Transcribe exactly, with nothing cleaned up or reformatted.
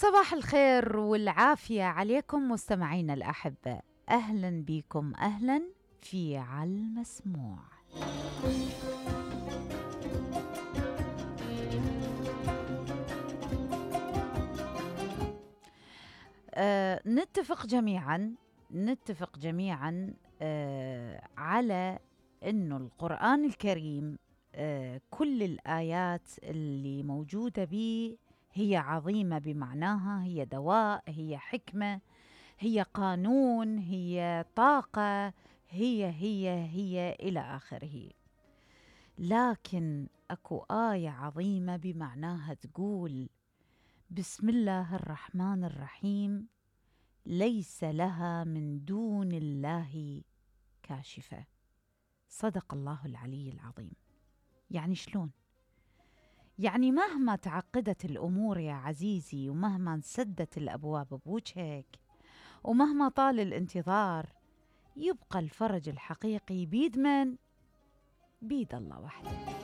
صباح الخير والعافية عليكم مستمعينا الأحبة، أهلا بكم أهلا في على المسموع. أه نتفق جميعا نتفق جميعا أه على أنه القرآن الكريم أه كل الآيات اللي موجودة به هي عظيمة بمعناها، هي دواء، هي حكمة، هي قانون، هي طاقة، هي هي هي إلى آخره. لكن أكو آية عظيمة بمعناها تقول بسم الله الرحمن الرحيم ليس لها من دون الله كاشفة. صدق الله العلي العظيم. يعني شلون؟ يعني مهما تعقدت الأمور يا عزيزي، ومهما انسدت الأبواب بوجهك، ومهما طال الانتظار، يبقى الفرج الحقيقي بيد من؟ بيد الله وحده.